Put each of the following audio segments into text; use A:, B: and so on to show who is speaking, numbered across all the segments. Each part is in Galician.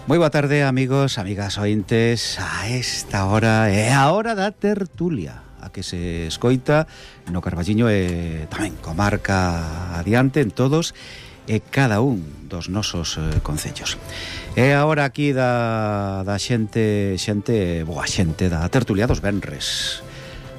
A: Moi boa tarde, amigos, amigas ointes. A esta hora é a hora da tertulia, a que se escoita no Carballiño e tamén comarca adiante en todos e cada un dos nosos concellos. É a hora aquí da xente, boa xente da tertulia dos venres,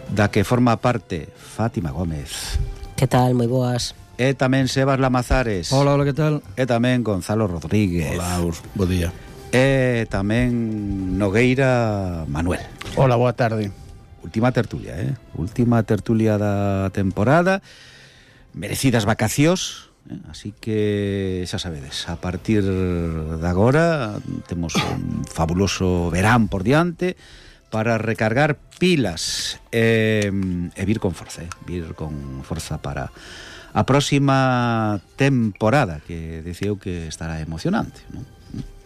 A: da que forma parte Fátima Gómez.
B: Que tal? Moi boas.
A: E tamén Sebas Lamazares.
C: Hola, que tal?
A: E tamén Gonzalo Rodríguez.
D: Hola, bo día.
A: E tamén Nogueira Manuel.
E: Hola, boa tarde.
A: Última tertulia, última tertulia da temporada. Merecidas vacacións, así que xa sabedes, a partir de agora temos un fabuloso verán por diante para recargar pilas e vir con forza, para a próxima temporada, que diceu que estará emocionante, non?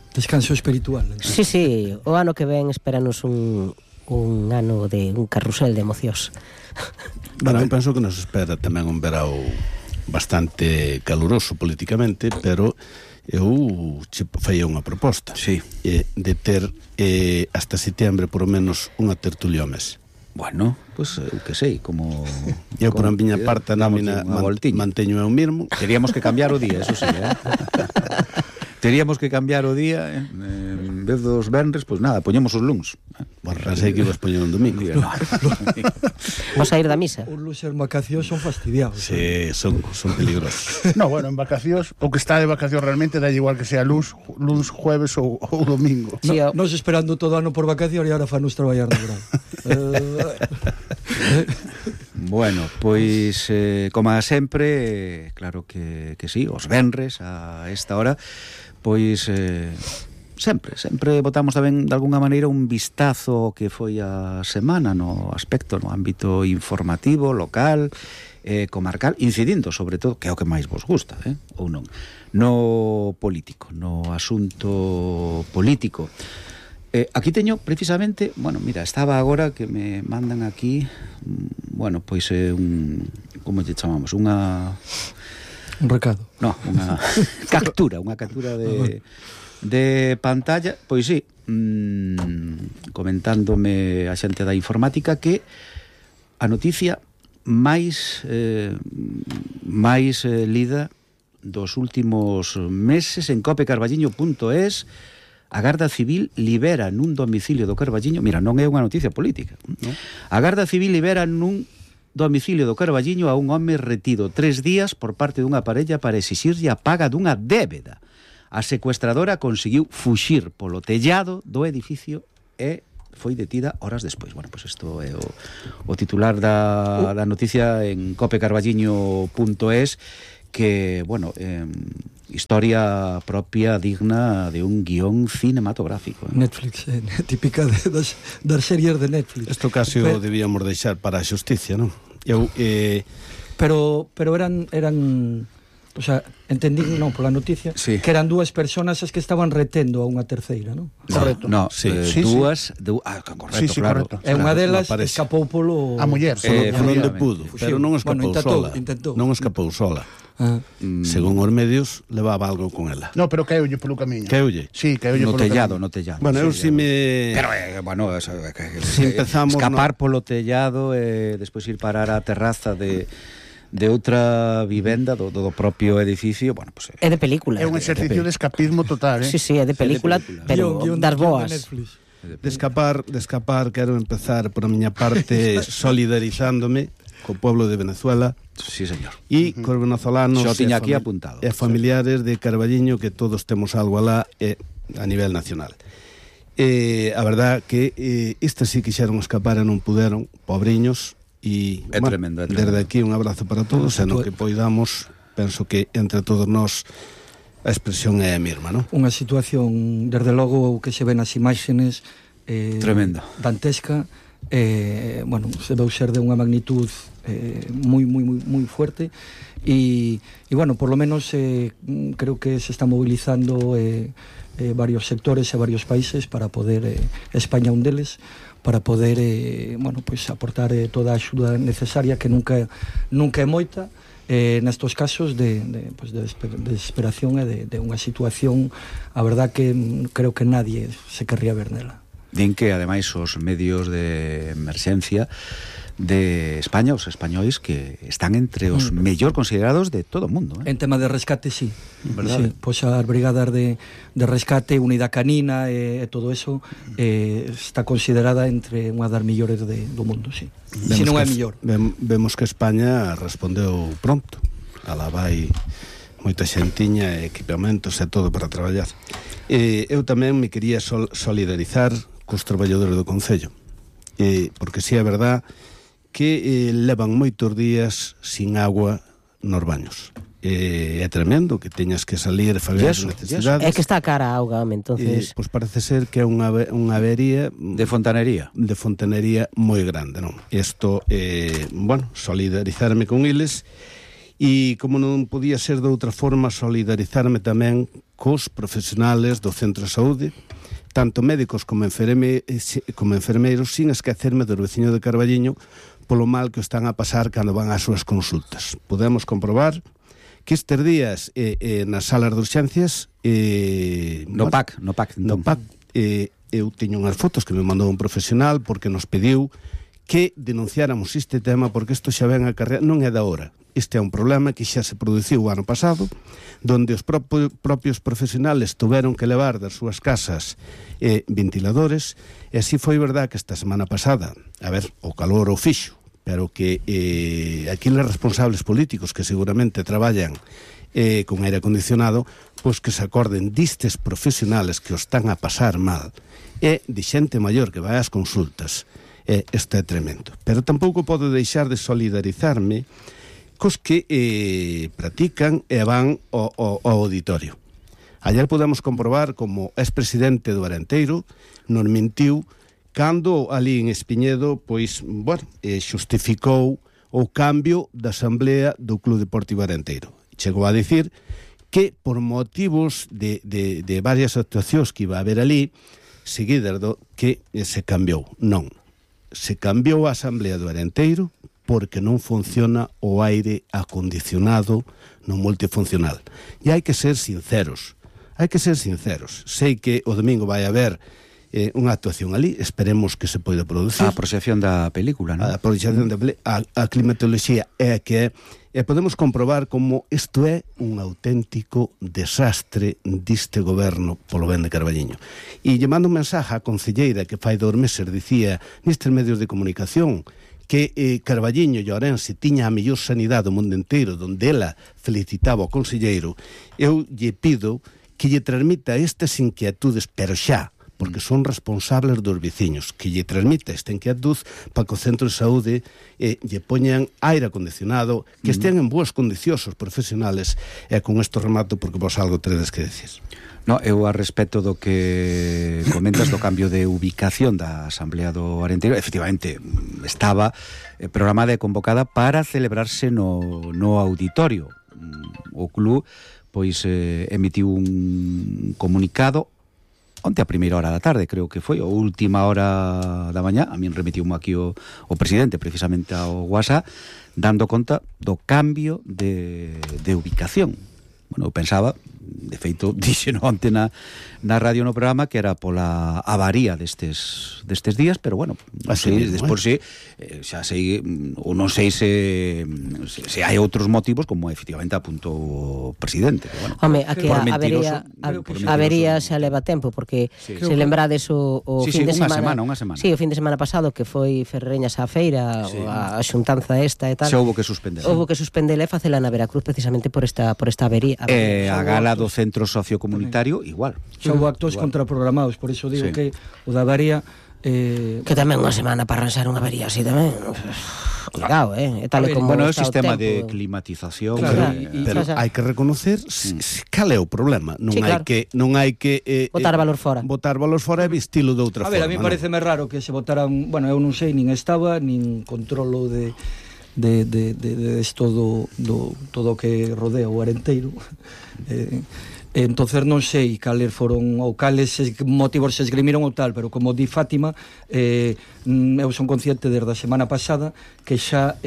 C: Descanso espiritual.
B: Sí, sí, o ano que ven espéranos un ano de un carrusel de emocións.
D: Bueno, eu penso que nos espera tamén un verao bastante caluroso políticamente, pero eu che faía unha proposta,
A: sí,
D: de ter hasta setembro por lo menos unha tertulia ao mes.
A: Bueno, pois eu que sei, como
D: eu por a miña parte a nómina manteño eu mesmo.
A: Teríamos que cambiar o día, eso sí, Teríamos que cambiar o día, en vez dos venres, pois nada, poñemos os luns.
D: Bueno, pensei que ibas poñer un domingo.
B: Vas a ir da misa?
C: Os luns en vacacións son fastidiados.
D: Sí, son peligrosos.
E: No, bueno, en vacacións, o que está de vacacións realmente dá igual que sea luns, jueves ou domingo.
B: Sí,
C: Nos esperando todo ano por vacacións e agora fanos traballar no verán.
A: Bueno, pois, como sempre, claro que sí, os venres a esta hora, pois sempre botamos tamén de alguna maneira un vistazo que foi a semana no aspecto, no ámbito informativo, local, comarcal, incidindo sobre todo, que é o que máis vos gusta, ou non, no político, no asunto político. Aquí teño precisamente, bueno, mira, estaba agora que me mandan aquí, bueno, pois como lle chamamos, un
C: recado.
A: No, unha captura de pantalla, pois sí, comentándome a xente da informática que a noticia máis lida dos últimos meses en copecarballiño.es. A Garda Civil libera nun domicilio do Carballiño, mira, non é unha noticia política, ¿no? A Garda Civil libera nun domicilio do Carballiño a un home retido 3 días por parte dunha parella para exixirlle a paga dunha débeda. A secuestradora conseguiu fuxir polo tellado do edificio e foi detida horas despois. Bueno, pois isto é o titular da noticia en copecarballiño.es, que, bueno, historia propia digna de un guión cinematográfico.
C: Netflix, típica das series de Netflix.
D: Isto casi o debíamos deixar para a xusticia, non?
C: Pero eran o sea, entendí, non, pola noticia, sí, que eran dúas personas as que estaban retendo a unha terceira, non?
A: Correcto. No,
D: sí,
A: dúas, correcto,
E: sí,
A: claro.
E: Correcto.
C: E unha delas escapou polo...
E: A muller.
D: Por onde pudo, pero non escapou sola.
C: Intentou.
D: Non escapou sola. Según os medios, levaba algo con ela.
E: No, pero caeulle polo camiño.
D: Caeulle?
E: Sí, caeulle
A: no
E: polo
A: tellado,
E: camiño.
A: No tellado.
D: Bueno, eu si me...
A: Pero, bueno, eso,
D: si empezamos...
A: Escapar polo tellado e despois ir parar á terraza de outra vivenda do propio edificio, bueno, pues,
B: é de película.
E: É un exercicio de escapismo total,
B: Sí, sí, é de película, pero das boas.
D: De escapar, quero empezar por a miña parte solidarizándome co pueblo de Venezuela.
A: Sí, señor.
D: E cos venezolanos
A: e
D: familiares de Carballiño, que todos temos algo alá a nivel nacional. A verdad que estes sí quixeron escapar e non puderon, pobriños. E
A: é tremendo.
D: Desde aquí un abrazo para todos, e no que poidamos, penso que entre todos nós a expresión é a mesma, non?
C: Unha situación, desde logo, que se ven as imaxenes
A: tremendo,
C: dantesca, bueno, se veu ser de unha magnitud moi fuerte, e bueno, por lo menos creo que se está movilizando varios sectores e varios países para poder, España un deles, para poder, bueno, pues aportar toda a axuda necesaria, que nunca é moita, nestos casos de desesperación e de unha situación, a verdad que creo que nadie se querría ver nela.
A: Din que, ademais, os medios de emerxencia de España, os españois, que están entre os mellor considerados de todo o mundo.
C: En tema de rescate, sí.
A: Verdade.
C: Sí, pois as brigadas de rescate, unidade canina e todo eso está considerada entre unha das mellores do mundo, sí. Se non é mellor.
D: Vemos que España respondeu pronto. Alá vai moita xentiña, equipamentos e todo para traballar. Eu tamén me quería solidarizar cos traballadores do Concello, porque si é verdad que levan moitos días sin agua nos baños. É tremendo que teñas que salir e fazer as necesidades.
B: É que está cara a auga, entonces...
D: Pois parece ser que é unha avería
A: De fontanería
D: moi grande, non? Isto, bueno, solidarizarme con eles, e como non podía ser de outra forma, solidarizarme tamén cos profesionales do centro de saúde, tanto médicos como enfermeiros, sin esquecerme do veciño de Carballiño polo mal que o están a pasar cando van ás súas consultas. Podemos comprobar que estes días nas salas de urxencias
A: no PAC
D: eu teño unhas fotos que me mandou un profesional porque nos pediu que denunciáramos este tema, porque isto xa ven a carreira, non é da hora. Este é un problema que xa se produciu o ano pasado, donde os propios profesionales tuveron que levar das súas casas ventiladores, e así foi verdad que esta semana pasada, a ver, o calor o fixo, pero que aqueles responsables políticos que seguramente traballan con aire acondicionado, pois que se acorden distes profesionales que os están a pasar mal, e de xente maior que vai ás consultas. Isto é tremendo. Pero tampouco podo deixar de solidarizarme cos que practican e van ao auditorio. Ayer podemos comprobar como ex-presidente do Arenteiro nos mentiu cando ali en Espiñedo, pois, bueno, xustificou o cambio da asamblea do Club Deportivo Arenteiro. Chegou a dicir que por motivos de varias actuacións que iba a haber ali, seguidas do que se cambiou. Non. Se cambiou a asamblea do Arenteiro porque non funciona o aire acondicionado no multifuncional. E hai que ser sinceros. Sei que o domingo vai haber unha actuación ali, esperemos que se poida producir.
A: A proxección da película, non?
D: A proxección da película, a climatoloxía é que e podemos comprobar como isto é un auténtico desastre diste goberno polo ben de Carballiño. E llamando un mensaje á concelleira que fai 2 meses dicía nestes medios de comunicación que Carballiño e Ourense tiña a mellor sanidade do mundo inteiro, donde ela felicitaba ao conselleiro, eu lle pido que lle transmita estas inquietudes, pero xa, porque son responsables dos veciños, que lle transmita esta inquietud para que o centro de saúde lle poñan aire acondicionado, que estén en boas condicións os profesionales, e con isto remato porque vos algo teredes que decir.
A: No, eu a respecto do que comentas do cambio de ubicación da Asamblea do Arenteiro, efectivamente estaba programada e convocada para celebrarse no auditorio. O club pois emitiu un comunicado onte a primeira hora da tarde, creo que foi, ou última hora da mañá. A min remitiume aquí o presidente precisamente ao WhatsApp, dando conta do cambio de ubicación. Bueno, eu pensaba, de feito, dixeno onte na radio no programa que era pola avaría destes días, pero bueno, non sei, despois xa sei, ou non sei se hai outros motivos, como efectivamente apuntou o presidente. Bueno,
B: home, a que a avería xa leva tempo, porque se lembrades o fin de semana...
A: Unha semana.
B: Sí, o fin de semana pasado, que foi Ferreñas á feira, a xuntanza esta e tal.
A: Xa houve que suspender.
B: Houve que suspendela e facela na Veracruz precisamente por esta avería.
A: A gala do centro sociocomunitario, igual.
C: Xa houve actos contraprogramados, por iso digo que o da avería...
B: Que tamén unha semana para arranxar unha avería así tamén... Cuidado, tal e como
A: bueno,
B: está
A: o sistema
B: tempo
A: de climatización,
C: claro,
D: pero hai que reconocer cal é o problema. Non hai que
B: botar valor fora.
D: Botar valor fora e vestilo de outra forma.
C: A ver, a mí pareceme raro que se botaran, bueno, eu non sei, nin estaba, nin controlo de todo que rodea o Arenteiro. Entonces non sei cales foron ou cales motivos se esgrimiron ou tal, pero como di Fátima, eu son consciente desde a semana pasada que xa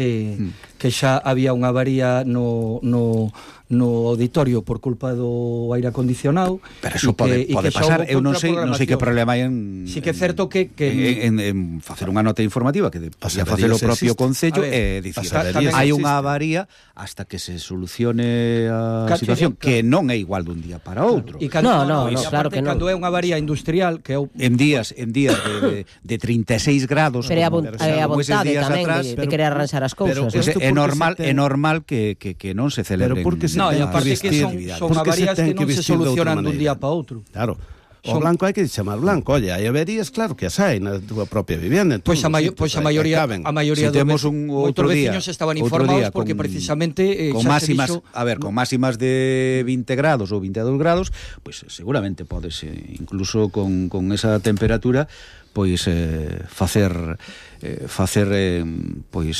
C: había unha avaría no auditorio por culpa do aire acondicionado.
A: Pero eso pode pasar, eu non sei que problema hai en...
C: Sí que é certo que
A: en facer unha nota informativa que podía facer o propio Concello e dicir, hai unha avaría hasta que se solucione a situación, que non é igual dun día para outro.
B: No, claro que non.
C: Cando é unha avaría industrial que
A: en días de 36 grados,
B: pero é a vontade tamén de querer arranxar as cousas.
A: É normal que non se celebre.
C: No, e aparte que son avarías que non se solucionan dun día para outro.
D: Claro. O blanco hai que chamar blanco. Oye, hai averías, claro que as hai na túa propia vivenda.
C: Pois a maioría
A: temos un outro día,
C: veciños estaban informados porque precisamente
A: con máximas de 20 grados ou 22 grados, pois seguramente podes incluso con esa temperatura pois facer pois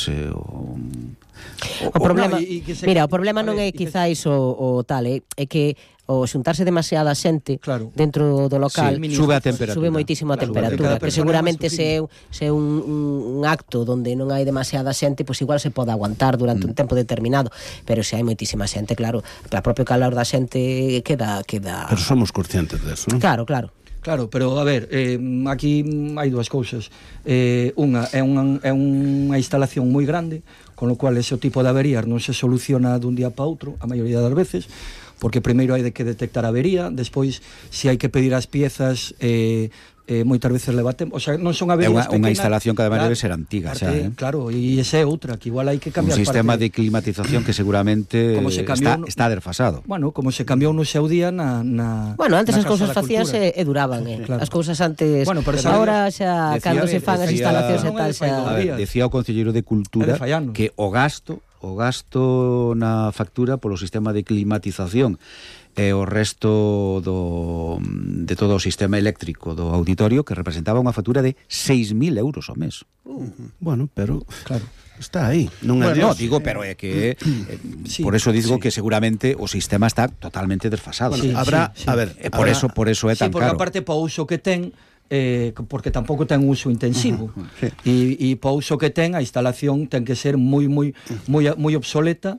B: o problema, mira, o problema non é quizáis o tal, é que o xuntarse demasiada xente dentro do local
A: sube a temperatura,
B: sube moitísimo a temperatura, que seguramente se é un acto onde non hai demasiada xente, pois igual se pode aguantar durante un tempo determinado, pero se hai moitísima xente, claro, o propio calor da xente queda...
D: Pero somos conscientes deso, non?
B: Claro,
C: pero a ver, aquí hai dúas cousas. Unha é unha instalación moi grande, con lo cual ese tipo de averías non se soluciona dun día para outro, a maioría das veces, porque primeiro hai que detectar a avería, despois se hai que pedir as piezas, moitas veces leva tempo, o sea, non son averías
A: pequenas. É unha instalación que ademais debe ser antiga, xa,
C: claro, e esa é outra, que igual hai que cambiar
A: un sistema de climatización que seguramente está desfasado.
C: Bueno, como se cambiou no seu día
B: Bueno, antes as cousas facíase e duraban, As cousas antes, agora xa cando se fan as instalacións e tal xa...
A: Decía o concelleiro de Cultura que o gasto na factura polo sistema de climatización e o resto de todo o sistema eléctrico do auditorio, que representaba unha factura de 6.000 euros ao mes.
D: Bueno, pero claro, está aí, non é Dios.
A: No, digo, pero é que por eso digo que seguramente o sistema está totalmente desfasado.
D: Habrá, a ver,
A: por eso é tan caro.
C: Porque aparte po uso que ten, porque tampouco ten un uso intensivo, e po uso que ten, a instalación ten que ser moi obsoleta,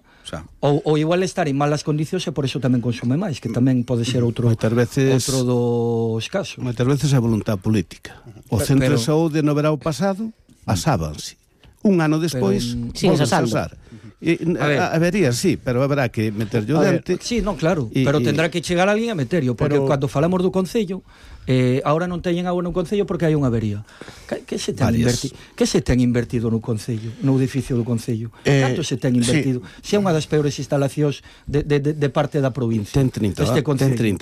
C: ou igual estar en malas condicións, e por eso tamén consume máis, que tamén pode ser outro dos casos.
D: Moitas veces é voluntad política. O centro de saúde no verao pasado asábanse. Un ano despois volven a asar. Habería, sí, pero haberá que meterlle o dente.
C: Sí, non, claro, pero tendrá que chegar alguén a meterlo, porque cando falamos do Concello, ahora non teñen agua no Concello porque hai unha avería. Que se ten invertido no Concello, no edificio do Concello? Canto se ten invertido? Se é unha das peores instalacións de parte da provincia.
D: Ten 30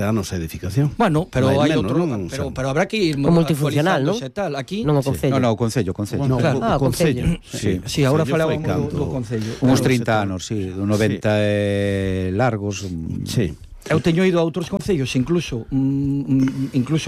D: anos a edificación.
C: Bueno, pero hai outro, pero habrá que ir
B: multifuncional, non?
C: Aquí
B: non o Concello.
A: No, o Concello.
B: O Concello.
C: Sí, agora falábamos do Concello.
A: Uns 30 anos, sí, do 90 largos.
D: Sí.
C: Eu teño ido a outros concellos incluso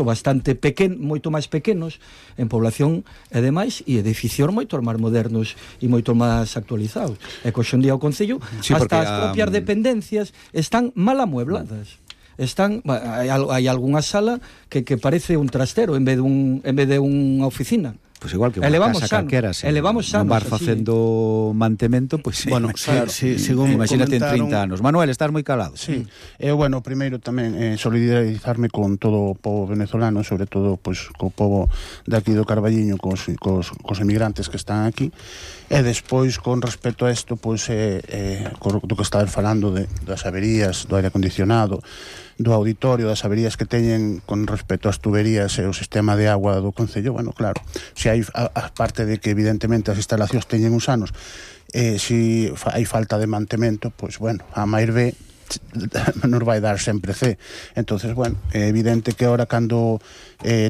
C: bastante moito máis pequenos en población e demais, e edificios moito máis modernos e moito máis actualizados. E que hoxe en día o concello, hasta as propias dependencias están mal amuebladas. Hai algunha sala que parece un trastero en vez de unha oficina.
A: Pois igual que unha casa calquera, non vas facendo mantemento, pois
E: bueno,
A: claro,
E: según
A: imagínate en 30 anos. Manuel, estás moi calado.
E: Sí. Bueno, primeiro tamén solidarizarme con todo o povo venezolano, sobre todo pois co povo de aquí do Carballiño, cos emigrantes que están aquí. E despois, con respecto a isto, pois do que estaba falando das averías, do aire acondicionado, do auditorio, das averías que teñen con respecto ás tuberías e o sistema de agua do Concello, bueno, claro, se hai a parte de que evidentemente as instalacións teñen uns anos, se hai falta de mantemento, pois bueno, a máis B nos vai dar sempre C. Entonces, bueno, é evidente que ahora cando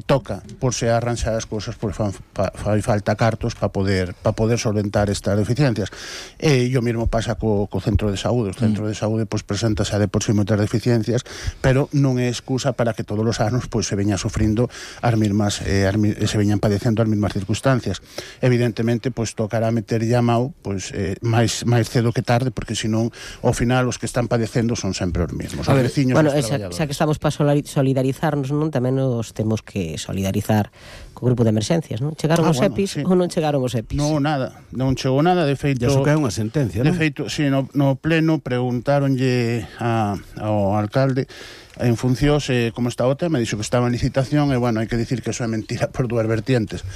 E: toca por se arranxar as cousas, pois fai falta cartos para poder solventar estas deficiencias. E o mesmo pasa co centro de saúde. O centro de saúde pois presentase de por si moitas deficiencias, pero non é excusa para que todos os anos pois se veña sufrindo as mesmas se veñan padecendo as mesmas circunstancias. Evidentemente pois tocará meter llamao pois máis cedo que tarde, porque senón ao final os que están padecendo sufrindo son sempre os mesmos.
B: Os veciños, bueno, xa que estamos para solidarizarnos, non, tamén nos temos que solidarizar co grupo de emerxencias, non? Chegaron os EPIs ou non chegaron os EPIs?
E: Non, nada, non chegou nada, de feito...
D: Ya so que é unha sentencia, non?
E: De feito, sí, no pleno preguntáronlle ao alcalde en función como está o tema, dixo que estaba en licitación, e bueno, hai que dicir que eso é mentira por dúas vertientes,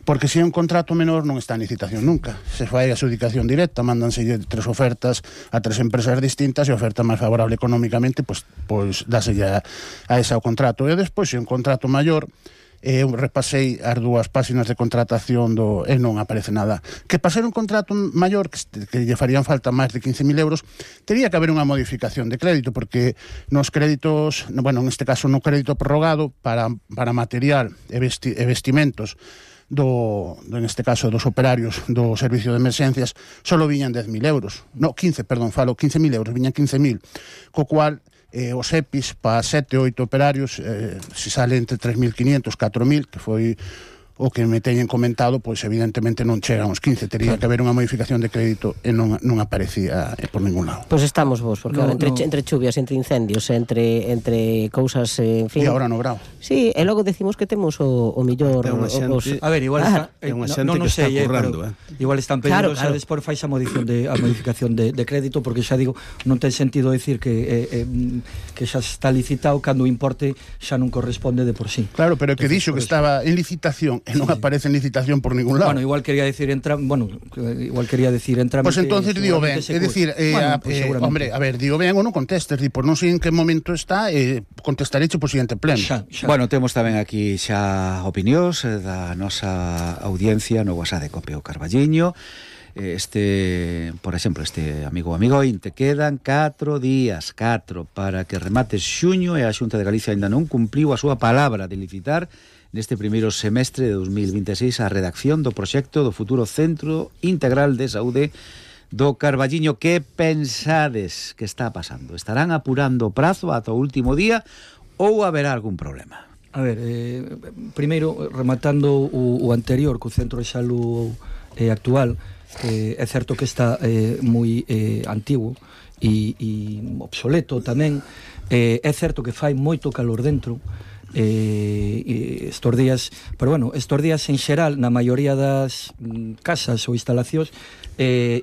E: porque se é un contrato menor non está en licitación nunca, se fai a adjudicación directa, mándanse 3 ofertas a 3 empresas distintas, e a oferta máis favorable económicamente pois dáselle a esa o contrato, e despois se é un contrato maior, eu repasei as 2 páxinas de contratación e non aparece nada. Que para ser un contrato maior, que lle farían falta máis de 15.000 euros, tería que haber unha modificación de crédito, porque nos créditos, bueno, en este caso no crédito prorrogado para material e vestimentos en este caso dos operarios do servicio de emerxencias, solo viñan 10.000 euros. No, 15.000 euros, viñan 15.000, co cual os EPIs para 7 ou 8 operarios se sale entre 3.500 e 4.000, que foi o que me teñen comentado, pois evidentemente non chegan aos 15, tería que haber unha modificación de crédito e non aparecía por ningún lado.
B: Pois estamos vos, porque ahora entre chuvias, entre incendios, entre cousas, en fin.
E: E agora no Brao.
B: Sí, e logo decimos que temos o mellor...
C: A ver, igual está... É unha xente que está currando, igual están pedindo, xa despois fais a modificación de crédito, porque xa digo, non ten sentido decir que xa está licitado cando o importe xa non corresponde de por sí.
E: Claro, pero que dixo que estaba en licitación e non aparece en licitación por ningún lado.
C: Bueno, igual quería decir entramite.
E: Pois entonces digo ben, é dicir, hombre, a ver, digo ben ou non contestes, por non sei en que momento está, contestareche por siguiente pleno.
A: Bueno, temos tamén aquí xa opinións da nosa audiencia no WhatsApp de Cope o Carballiño. Por exemplo, este amigo te quedan 4 días para que remate xuño, e a Xunta de Galicia ainda non cumpriu a súa palabra de licitar neste primeiro semestre de 2026 a redacción do proxecto do futuro Centro Integral de Saúde do Carballiño. Que pensades que está pasando? Estarán apurando o prazo ata o último día ou haberá algún problema?
C: A ver, primeiro, rematando o anterior, co Centro de Salud actual, é certo que está moi antigo e obsoleto tamén. É certo que fai moito calor dentro, estos días, pero bueno, estos días en xeral na maioría das casas ou instalacións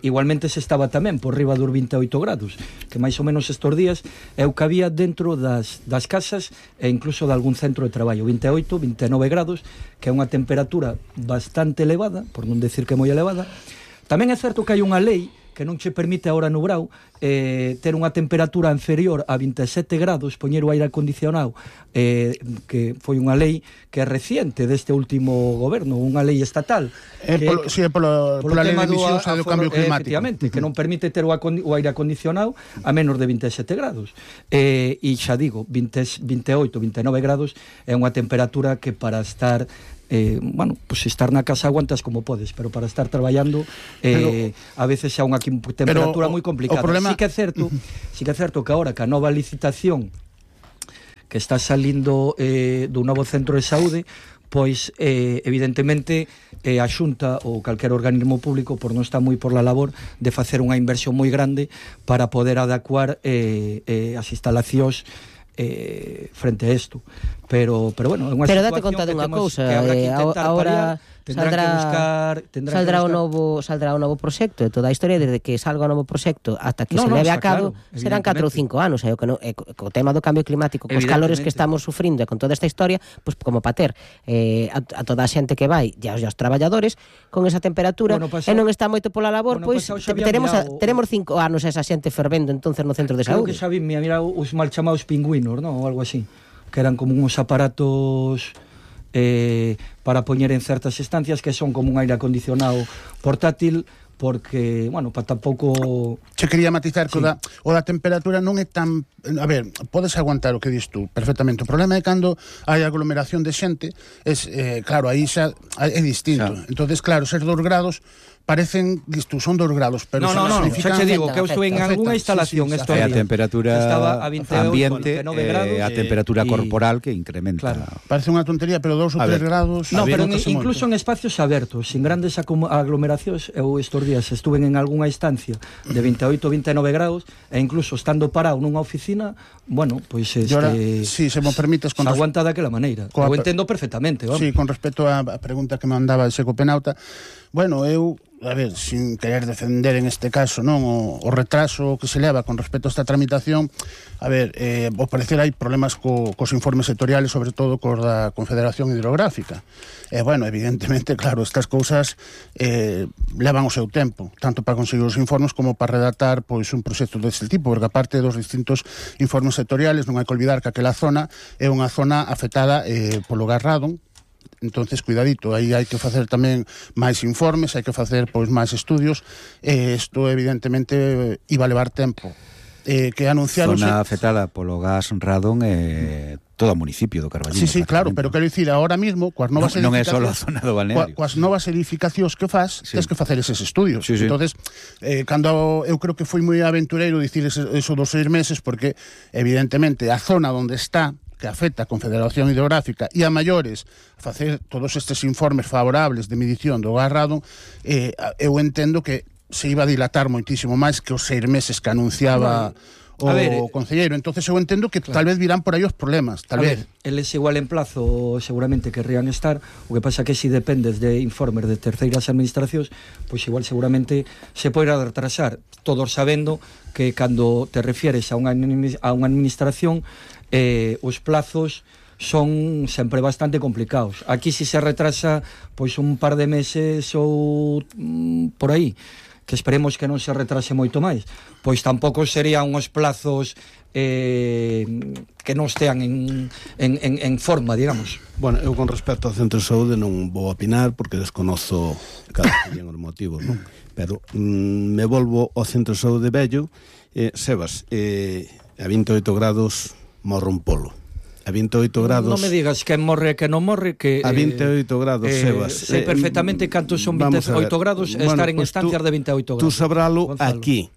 C: igualmente se estaba tamén por riba dos 28 grados, que máis ou menos estos días é o que había dentro das casas e incluso de algún centro de traballo, 28, 29 grados, que é unha temperatura bastante elevada, por non decir que moi elevada. Tamén é certo que hai unha lei que non che permite agora no Brao ter unha temperatura inferior a 27 grados, poñer o aire acondicionado, que foi unha lei que é reciente deste último goberno, unha lei estatal.
E: Pola lei de emisións do cambio climático.
C: Efectivamente, que non permite ter o aire acondicionado a menos de 27 grados. E xa digo, 28, 29 grados é unha temperatura que para estar... bueno, pues estar na casa aguantas como podes, pero para estar traballando a veces xa unha temperatura moi complicada. Sí que é certo que agora que a nova licitación que está salindo do novo centro de saúde, pois evidentemente a Xunta ou calquer organismo público por non está moi por la labor de facer unha inversión moi grande para poder adecuar as instalacións frente a isto, pero bueno, é unha
B: situación date conta dunha cousa, agora saldrá o novo proxecto, e toda a historia desde que salga o novo proxecto ata que se leve a cabo serán 4 ou 5 anos, e co tema do cambio climático, cos calores que estamos sufrindo e con toda esta historia, pois como para ter a toda a xente que vai e aos traballadores con esa temperatura, e non está moito pola labor, pois teremos 5 anos esa xente fervendo entonces no centro de saúde.
C: Creo que xa vi, mira os mal chamados pingüinos, non? Ou algo así, que eran como uns aparatos para poñer en certas estancias que son como un aire acondicionado portátil, porque, bueno, para tampouco...
E: Che quería matizar que o da temperatura non é tan... A ver, podes aguantar o que dis tú perfectamente. O problema é cando hai aglomeración de xente, claro, aí xa é distinto. Entonces, claro, ser 2 grados parecen, son 2 grados, pero
C: no, xa che digo que eu estou en algunha instalación estos días.
A: A temperatura
C: estaba a 28,
A: ambiente,
C: 29 grados,
A: a temperatura corporal que incrementa.
E: Claro. Parece unha tontería, pero 2 ou 3 grados...
C: No, pero incluso en espacios abertos, sin grandes aglomeracións, eu estes días estuve en algunha instancia de 28, 29 grados, e incluso estando parado nunha oficina, bueno, pois
E: si se me permites,
C: se aguanta daquela maneira. Eu entendo perfectamente, vamos.
E: Sí, con respecto á pregunta que me mandaba el Secopenauta, bueno, eu, a ver, sin querer defender en este caso, non, o retraso que se leva con respecto a esta tramitación, a ver, ao parecer hai problemas cos informes sectoriales, sobre todo cos da Confederación Hidrográfica. Bueno, evidentemente, claro, estas cousas levan o seu tempo, tanto para conseguir os informes como para redactar pois un proxecto deste tipo, porque aparte dos distintos informes sectoriales, non hai que olvidar que aquela zona é unha zona afectada polo gas radon. Entonces, cuidadito, aí hai que facer tamén máis informes, hai que facer pois máis estudios, isto evidentemente iba a levar tempo. Que anunciaron...
A: Zona afectada polo gas radón todo o municipio do Carballiño.
E: Sí, claro, pero quero dicir, ahora mismo, coas novas
A: non é só a zona do balneario.
E: Coas novas edificacións que fas, tens que facer eses estudios.
A: Sí.
E: Entonces, cando eu creo que foi moi aventureiro dicir eso dos 6 meses, porque evidentemente a zona onde está, que afecta a Confederación Hidrográfica e a maiores facer todos estes informes favorables de medición do gas radon, eu entendo que se iba a dilatar moitísimo máis que os 6 meses que anunciaba o concelleiro. Entonces eu entendo que tal vez virán por aí os problemas, tal vez.
C: Eles igual en plazo seguramente querrían estar, o que pasa que si dependes de informes de terceiras administracións, pois igual seguramente se poderá retrasar, todos sabendo que cando te refieres a unha administración, os plazos son sempre bastante complicados. Aquí si se retrasa pois un par de meses ou por aí, que esperemos que non se retrase moito máis, pois tampouco serían uns plazos que non estean en forma, digamos.
D: Bueno, eu con respecto ao centro de saúde non vou opinar porque desconozo cada un os motivos, non? Pero me volvo ao centro de saúde vello, Sebas, a 28 grados morre un polo. A 28 grados...
C: Non me digas que morre que non morre, que...
D: A 28 grados, Sebas.
C: Sei perfectamente cantos son 28 grados estar en estancias de 28 grados.
D: Tú sabralo aquí,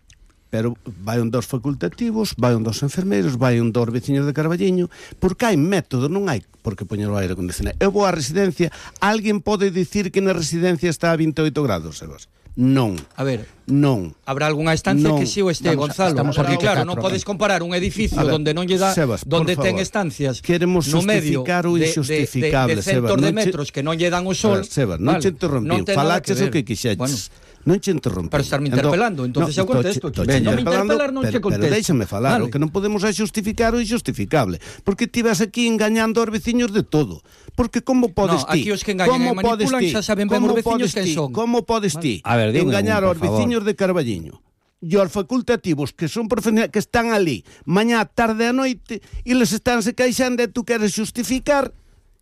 D: pero vai un dos facultativos, vai un dos enfermeiros, vai un dos veciños de Carballiño, porque hai método, non hai por que poñer o aire acondicionado. Eu vou á residencia, alguén pode dicir que na residencia está a 28 grados, Sebas? Non.
C: A ver,
D: non.
C: Habrá algunha estancia que si o este, Gonzalo, porque claro, non podes comparar un edificio onde non lle dá,
D: Sebas,
C: donde ten estancias
D: queremos
C: no medio
D: justificar o injustificable,
C: de centos de metros que non lle dan o sol.
D: Sebas, non che interrompiu, falaches o que quixeches. Non che interrompiu.
C: Para estarme interpelando, entonces eu contesto. Non me interpelar, non che contesto.
D: Pero déixame falar, o que non podemos é justificar o injustificable, porque ti vas aquí engañando aos veciños de todo. Porque como podes ti?
C: Aquí os que engañan e manipulan xa saben ben os veciños que son.
D: Como podes ti engañar aos veciños de Carballiño e aos facultativos que son profesionais que están ali mañá, tarde e noite e les estánse queixando e tú queres justificar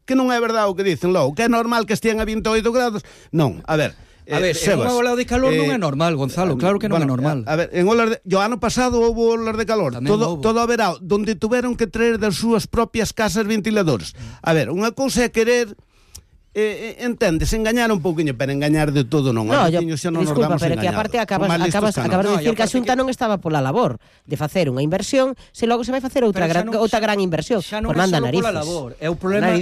D: que non é verdade o que dicen logo, que é normal que estean a 28 grados? Non, a ver,
C: Sebas, unha ola de calor non é normal, Gonzalo, claro que non é normal.
D: A ver, en olas o ano pasado houve olas de calor, todo o verao, donde tuveron que traer das súas propias casas ventiladores. A ver, unha cousa é querer entendes, engañar un pouquiño, pero engañar de todo non.
B: Disculpa, pero que aparte acabas de dicir que a Xunta non estaba pola labor de facer unha inversión, se logo se vai facer outra gran inversión.
C: Por manda narices. É o problema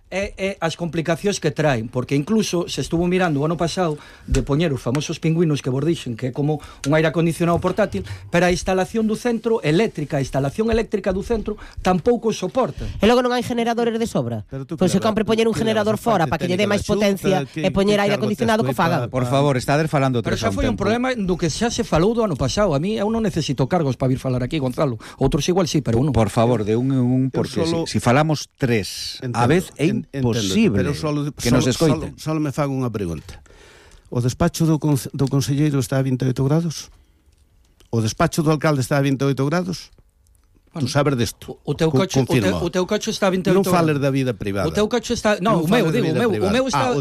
C: é as complicacións que traen, porque incluso se estuvo mirando o ano pasado de poñer os famosos pingüinos que vos dixen que é como un aire acondicionado portátil, pero a instalación do centro eléctrica, a instalación eléctrica do centro tampouco soporta.
B: E logo non hai generadores de sobra. Pois se compre poñer un generador fora para que lle dé máis potencia e poñer aire acondicionado co fagan.
A: Por favor, estades falando
C: pero xa foi un problema do que xa se falou do ano pasado. A mí eu non necesito cargos para vir falar aquí, Gonzalo. Outros igual sí, pero uno.
A: Por favor, de un en un, porque si falamos tres a vez é imposible que nos escoiten.
D: Solo me fago unha pregunta. O despacho do conselleiro está a 28 grados? O despacho do alcalde está a 28 grados? Tú sabes desto.
C: O teu coche está a 28
D: non fales da vida privada.
C: O teu coche está, o meu está,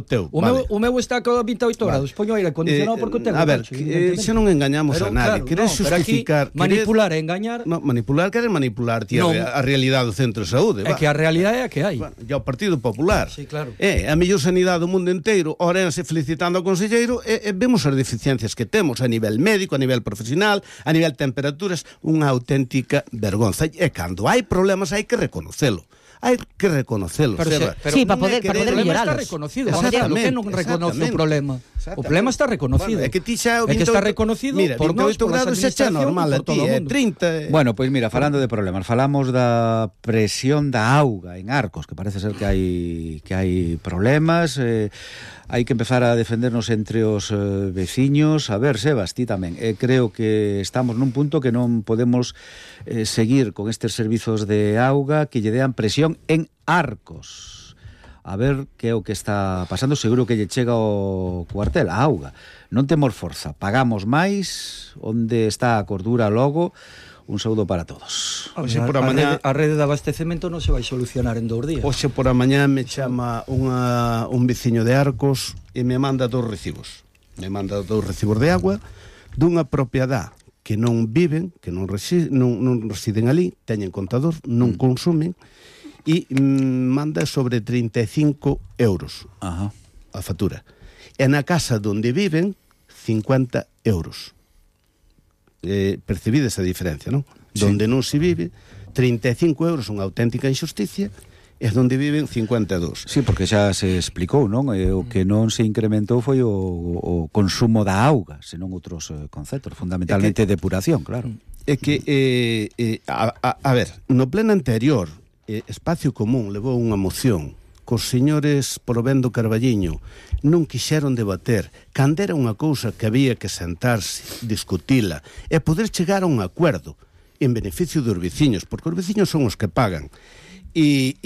C: o meu está a 28 grados. Poño aire acondicionado porque o tengo.
D: A ver, xa non engañamos a nadie. Queres justificar,
C: manipular e engañar.
D: Manipular, queres manipular a realidade do centro de saúde.
C: É que a realidade é a que hai.
D: E o Partido Popular.
C: Sí, claro.
D: A mellor sanidade do mundo inteiro, orense felicitando ao conselleiro, e vemos as deficiencias que temos a nivel médico, a nivel profesional, a nivel temperaturas, unha auténtica vergonza. E cando hai problemas hai que reconocelo. Hai que reconocelos.
B: Sí, para poder melloralos.
C: Está reconocido. Que non reconoce o problema. O problema está reconocido.
D: É que ti xa
C: é que está reconocido por nós, por
D: grados xa é normal, a ti é 30.
A: Bueno, pois mira, falando de problemas, falamos da presión da auga en Arcos, que parece ser que hai problemas. Hai que empezar a defendernos entre os veciños. A ver, Sebas, ti tamén. Creo que estamos nun punto que non podemos seguir con estes servizos de auga que lle dean presión en Arcos. A ver que é o que está pasando. Seguro que lle chega ao cuartel, a auga. Non temos forza, pagamos máis. Onde está a cordura logo? Un saúdo para todos.
C: Oxe, por a mañá a rede de abastecemento non se vai solucionar en 2 días.
D: Oxe, por a mañá me chama un veciño de Arcos e me manda 2 recibos. Me manda 2 recibos de agua dunha propiedade que non viven, que non residen ali, teñen contador, non consumen, e manda sobre 35 euros a factura. E na casa onde viven, 50 euros. Percibides a diferencia, non? Sí. Donde non se vive, 35 euros, unha auténtica injusticia, e donde viven 52.
A: Sí, porque xa se explicou, non? O que non se incrementou foi o consumo da auga, senón outros conceptos, fundamentalmente depuración, claro.
D: É que, a ver, no pleno anterior, Espacio Común levou unha moción cos señores Provendo Carballiño non quixeron debater cando era unha cousa que había que sentarse, discutila e poder chegar a un acuerdo en beneficio dos veciños, porque os veciños son os que pagan e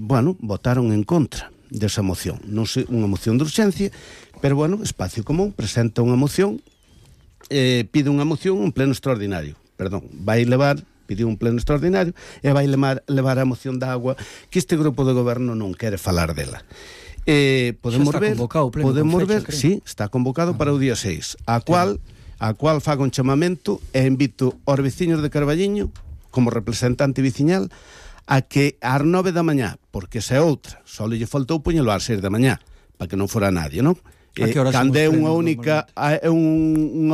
D: bueno, votaron en contra desa moción, non sei, unha moción de urxencia, pero bueno, Espacio Común presenta unha moción, pide unha moción un pleno extraordinario, pediu un pleno extraordinario e vai levar a moción da agua que este grupo de goberno non quere falar dela. Podemos ver, sí, está convocado para o día 6, a cual fago un chamamento e invito aos veciños de Carballiño como representante veciñal a que ás 9 da mañá, porque esa é outra, só lle faltou poñelo ás 6 da mañá para que non fora nadie, non? Cando é unha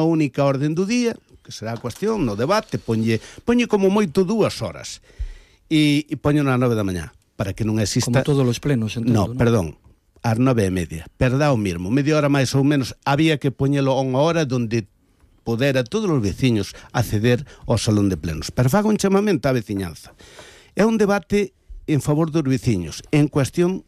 D: única orden do día, que será a cuestión no debate, poñe como moito 2 horas e poño nas 9 da mañá para que non exista...
C: Como todos os plenos, entendo,
D: no, perdón, ás 9:30, perdá o mismo, media hora máis ou menos, había que poñelo a unha hora donde podera todos os veciños acceder ao salón de plenos, pero fago un chamamento á veciñanza. É un debate en favor dos veciños, en cuestión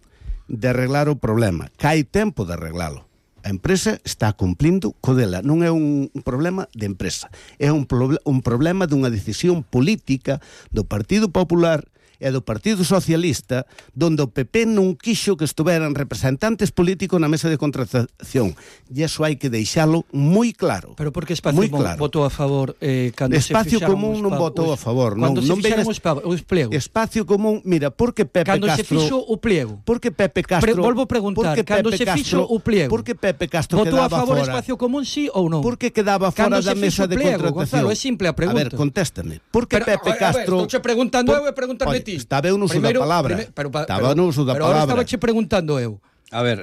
D: de arreglar o problema, que hai tempo de arreglalo. A empresa está cumplindo co dela, non é un problema de empresa, é un problema dunha decisión política do Partido Popular e do Partido Socialista, donde o PP non quixo que estuveran representantes políticos na mesa de contratación. E iso hai que deixalo moi claro.
C: Pero por que Espacio Común votou a favor cando
D: Espacio Común non votou a favor.
C: Cando se fixaron os pliegos.
D: Espacio Común, mira, porque Pepe Castro...
C: Cando se fixo o pliego.
D: Porque Pepe Castro...
C: Volvo a preguntar, cando se fixo o pliego.
D: Porque Pepe Castro
C: votou
D: quedaba fora.
C: Votou a favor Espacio Común, sí ou non?
D: Porque quedaba fora da mesa de contratación.
C: Gonzalo, é simple a pregunta.
D: A ver, contéstame. Porque Pepe Castro...
C: Estou preguntando eu e preguntarme ti.
D: Estaba eu non da palabra. Estaba no uso da palabra.
C: Pero ahora estaba che preguntando eu.
A: A ver,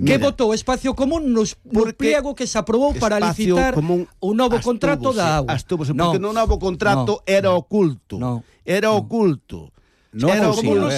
C: que votou Espacio Común no pliego que se aprobou para licitar o novo contrato da agua?
D: Porque no novo contrato era oculto. Era oculto.
A: Non,